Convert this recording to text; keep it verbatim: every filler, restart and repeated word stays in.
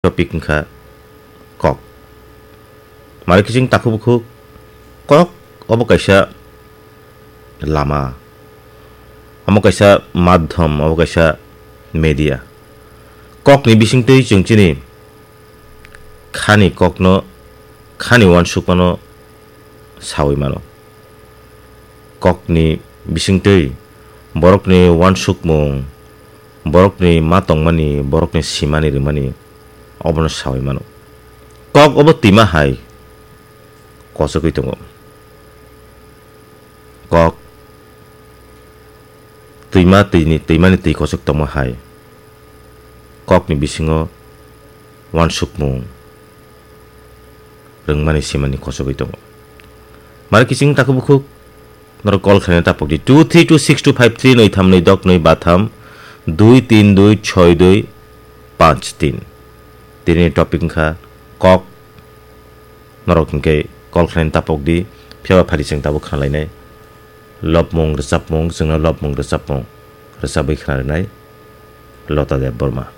Topic wngkha kok. Mari kiching takhuk bukhuk kok obo kaisa lama, omo kaisa madhyam, obo kaisa media. Kokni bisingtwi chwng chini khani kokno, khani uansukmano sawi mano. Kokni bisingtwi borokni uansukmung, borokni ma tongmani, borokni simani rwmani obono sawi mano. Kok obo twima hai kochogwi tongo. Kok twima twini, twimani twi kochok tongma hai kokni bisingo uansukmung rwngmani simani kochogwi tongo. Mari kiching takhuk bukhuk norok call khlaina tapokdi two three two six two five three, noi tham noi dok noi ba tham dui tin dui choi dui panch tin. Tini topic wngkha kok. Norok hinkhe call khlaina tapokdi, phiyaba phari chwng tabuk khnalainai. Lobmung rwchapmung, chwngno lobmung rwchapmung rwchabwi khna rwnai Lota Debbarma.